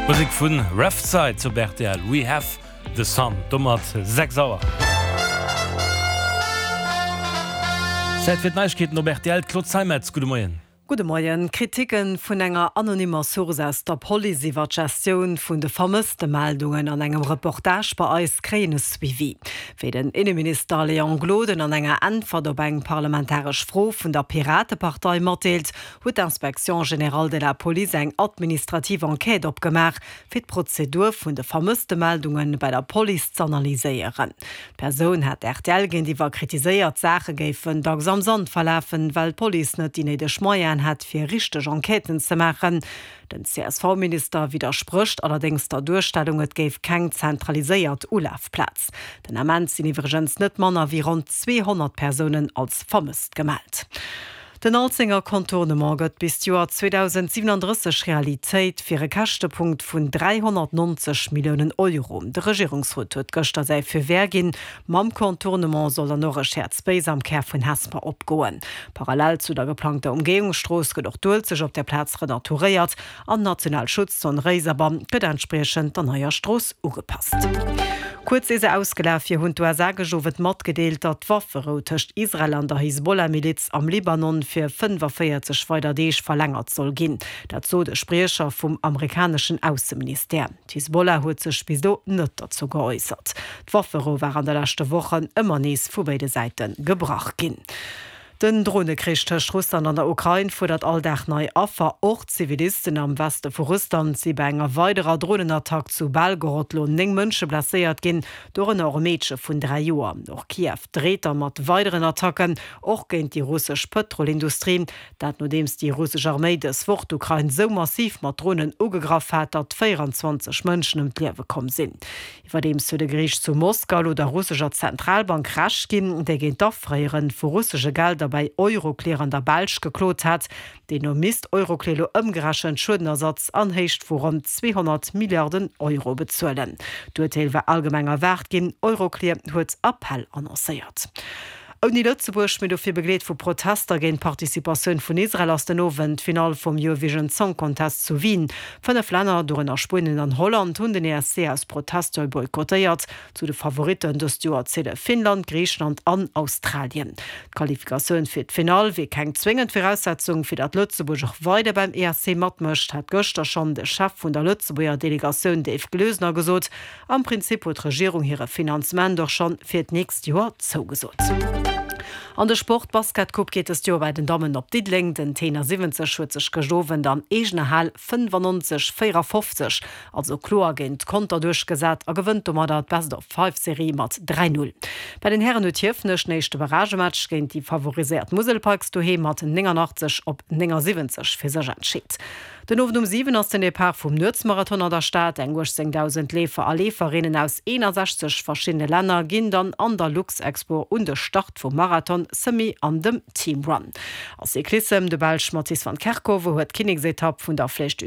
Musek vun Refside op rtl, We Have The Sun, domat 6 Auer. Zäit fir d'Neiegkeeten op rtl, d'Claude Zeimetz, gudde Moien. Gudde Moien. D'Kriticke vun enger anonymmer Source aus der Police iwwer d'Gestioun vun de Vermësstemeldungen an engem Reportage bei eis kréien e Suivi. Wéi den Inneminister Léon Gloden an enger Äntwert op eng parlamentaresch Fro vun der Piratepartei matdeelt, huet d'Inspection générale de la police eng administrativ Enquête opgemaach, fir d'Prozedur vun de Vermësstemeldunge bei der Police z'analyséieren. D'Persoun hat rtl géintiwwer kritiséiert, d'Saache géifen dacks am Sand verlafen, well d'Police net déi néideg Moyenen hätt, fir richteg Enquêten ze maachen. Den CSV-Minister widdersprécht allerdéngs der Duerstellung, et géif keng zentraliséiert Ulafplaz. Den Ament sinn iwwregens net manner wéi ronn 200 Persounen als vermësst gemellt. Den Alzenger Contournement gëtt bis d'Joer 2037 Realitéit, fir e Käschtepunkt vun 390 Milliounen Euro. De Regierungsrot huet gëschter säi Feu vert ginn. Mam Contournement soll dann och e Shared Space am Kär vun Hesper opgoen. Parallel zu der geplangter Umgehungsstrooss gëtt och d'Uelzecht op der Plaz renaturéiert an d'national Schutzzon Réiserbann gëtt entspriechend der neier Strooss ugepasst. Kuerz ier se ausgelaf wier, hunn d'USA gëscht Owend matgedeelt, datt d'Wafferou tëscht Israel an der Hisbollah-Miliz am Libanon fir 45 weider Deeg verlängert soll ginn. Dat sot e Spriecher vum amerikaneschen Ausseministère. D'Hisbollah huet sech bis elo net derzou geäussert. D'Wafferou war an de leschte Wochen ëmmer nees vu béide Säite gebrach ginn. Den Dronekrich tëscht Russland an der Ukrain fuerdert all Dag nei Affer. Och Zivilisten am Weste vu Russland si bei enger weiderer Dronenattack zu Belgorod lo 9 Mënsche blesséiert ginn, dorënner och e Meedche vun 3 Joer. Och Kiew dreet da mat weideren Attacken, och géint déi russesch Pëtrolindustrie. Dat nodeems déi russesch Arméi dës Woch d'Ukrain sou massiv mat Dronen ugegraff hat, datt 24 Mënschen ëm d'Liewe komm sinn. Iwwerdeems huet e Geriicht zu Moskau elo der russescher Zentralbank Recht ginn, déi géint d'Afréiere vu russesche Gelder bei Euroclear an der Belsch geklot hat. Deemno misst Euroclear elo ëmgerechent Schuedenersatz an Héicht vu ronn 200 Milliarden Euro bezuelen. D'Urteel war allgemeng erwaart ginn, Euroclear huet Appell annoncéiert. Ouni Lëtzebuerg, mee dofir begleet vu Protester géint d'Participatioun vun Israel, ass den Owend d'Finall vum Eurovision Song Contest zu Wien. 5 Länner, dorënner Spuenien an Holland, hunn den ESC aus Protest boykottéiert. Zu de Favoritten dëst Joer ziele Finnland, Griicheland an Australien. D'Qualifikatioun fir d'Finall wier keng zwéngend Viraussetzung, fir datt Lëtzebuerg och weider beim ESC matmécht, hat gëschter schonn de Chef vun der Lëtzebuerger Delegatioun Dave Gloesener gesot. Am Prinzip huet d'Regierung hire Finanzement och schonn fir d'nächst Joer zougesot. An de Sport, D'Basketcoupe geet dëst Joer bei den Dammen op Diddeleng. Den Tenor 70 huet sech gëscht Owend an eegener Hal 95, 54, also kloer géint Conter duerchgesat a gewënnt domadder d'Best-of-Five-Serie mat 3, 0. Bei den Hären huet Hiefenech den éischte Barragematch géint déi favoriséiert Musel Pikes doheem mat 89 op 79 fir sech entscheet. Den Owend um 7 ass den Depart vum Nuetsmarathon an der Stad. Eng 18.000 Leefer a Leeferinnen aus 61 verschiddene Länner ginn dann an der Luxexpo un de Start vum Marathon, Semi an dem Team Run. A Cyclissem, De Belsch Mathies van Kerkhove huet d'Kinneksetapp vun der Flèche du.